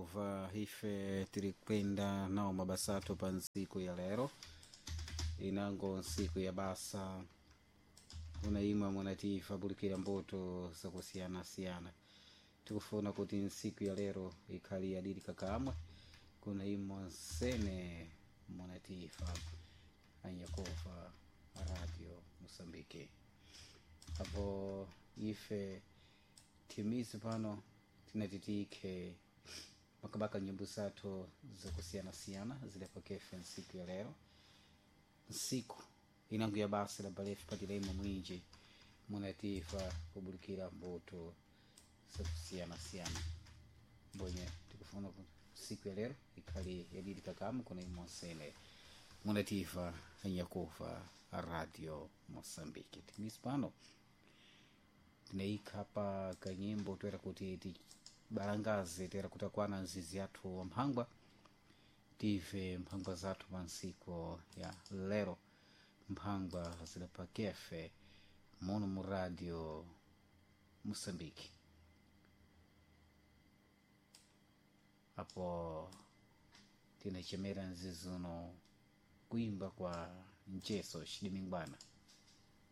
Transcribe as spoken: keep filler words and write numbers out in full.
Anyakuva, ife tiri kwenda nawo mabasa athu pa ntsiku ya lero, inango ntsiku ya basa una imwe munatifa bulikira mbuto zakusiyanasiyana. Tikufuna kuti ntsiku ya lero ikhali yadiri kakamwe kuna imwe nsene munatifa Anyakuva Radio Mosambike. Apo ife timizi pano tinatitike makabaka nyimbo zathu zakusiyanasiyana zilepakefe ntsiku ya lero, ntsiku inango ya basa la balefu patira imwe mwinji munatifa kubulikira mbuto zakusiyanasiyana. Mbonye tikufuna kuti siku ya lero ikhali yadidi kakamu kuna imwe nsene munatifa Anyakuva Radio Mosambike. Timizi pano tinaikha pa kanyimbo toera kuti tibalangaze toera kuti akwana nzizi yathu wamphangwa tive mphangwa zathu pa ntsiku ya lero, mphangwa zilapakefe muno mu Radio Mosambike. Apo tinachemera nzizi uno kuimba kwa mcheso xidimingwana.